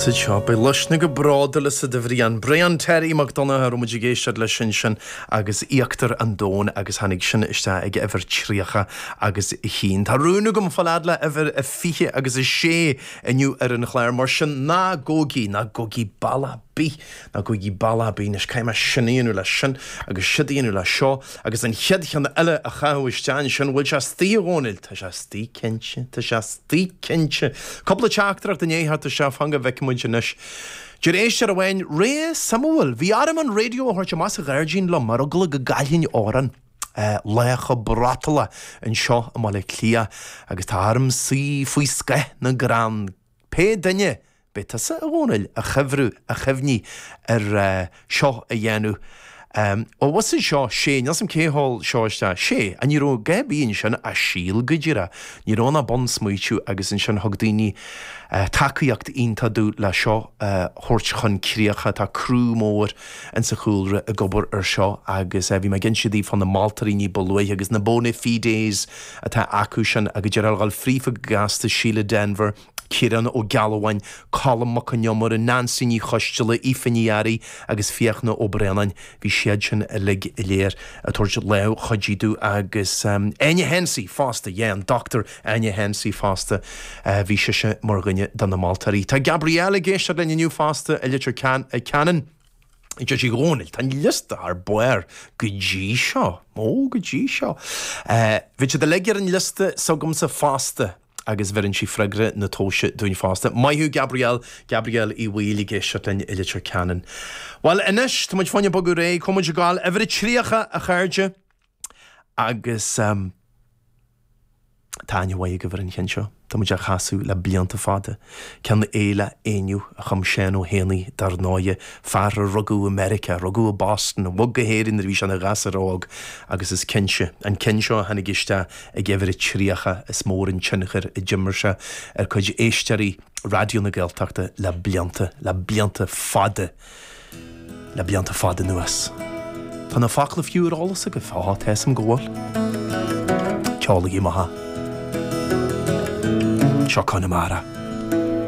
Sa seo, beidh luisne go bródúil asat a Bhriain. Brian Terry Mac Donncha a raibh muid ag éisteacht leis ansin agus Íochtar an Domhain agus tháinig sin isteach ag uimhir 30 agus a haon. Tá rún agam fáil fhad le uimhir a 20 agus a sé inniu ar an chlár mar sin ná gabhaigí, ná gabhaigí bealach ar bith, ná gabhaigí bealach ar bith anois caithfidh mé sin a dhéanamh leis sin agus siúd a dhéanamh leis seo agus an chéad cheann eile a chaitheamh isteach ansin, bhfuil sé istigh a Dhónaill? Tá sé istigh cinnte, tá sé istigh cinnte. Cúpla teachtaireacht i ndiaidh theacht isteach, fan go bhfeicfidh muid anois. Deir éisteoir amháin, Ré suimiúil, bhí orm an raidió a thabhairt amach sa ghairdín liom ar eagla go gcaillfinn amhrán. Lá chomh brotalach anseo i mBaile Átha Cliath agus tá orm suí faoi scáth na gcrann. Pé duine B'é tusa, a Dhónaill, a chuibhriú, a chuimhnigh ar seo a dhéanamh. Ó, bhus anseo, sé, níl 's a'm cé a sheol seo isteach. Sé, ní raibh a dhath ar bith ansin ach síol go díreach. Ní raibh ann ach bunsmaoitiú agus ansin thug daoine tacaíocht iontach domh le seo a thabhairt chun críocha. Tá criú mór insa chúlra ag obair ar seo agus bhí mé ag inse daoibh fá na moltóirí ní ba luaithe agus na bona fides atá acu sin agus déarfá a dhul fríofa go gasta, Síle Denvir, Ciarán Ó Gealbháin, Colm Mac Con Iomaire, Neansaí Ní Choisdealbha, Aoife Ní Fhearraigh agus Fiachna Ó Braonáin, bhí siad sin uilig go léir ag tabhairt lámh chuidí domh agus Áine Hensey fosta, yeah, an Dr Áine Hensey fosta, bhí sise mar dhuine de na moltóirí. Tá Gabrielle ag éisteacht linn inniu fosta i Leitir Ceanainn. Deir sí, a Dhónaill, tá an liosta thar barr go dtí seo, ó, go dtí seo. Bhí siad uilig ar an liosta s'agamsa fosta. agus bheireann sí freagra na tomhaise dúinn fosta. Maith thú Gabrielle, Gabrielle Uí Bhaoill ag éisteacht linn i Leitir Ceanainn. Bhuel anois, tá muid fá choinne bogadh ar aghaidh, chuaigh muid ag gabháil uimhir a 30 a chairde agus ehm tá aithne mhaith agaibh ar an cheann seo. Tá muid á chasadh le blianta fada. Ceann Éile Éinniú a chum Seán Ó hÉanaí dar ndóighe, fear a rugadh i Meiriceá, rugadh i Boston, a bhog go hÉirinn nuair a bhí sé ina ghasúr óg agus is cinnte, an ceann seo a tháinig isteach ag uimhir a 30, is mór an tionchar a d'imir sé ar chuid éisteoirí Raidió na Gaeltachta le blianta, le blianta fada, le blianta fada anuas. Tá na focla fiú ar eolas agaibh? Á, tá 'fhios a'm go bhfuil. Ceolaigí amach. Seo Conamara.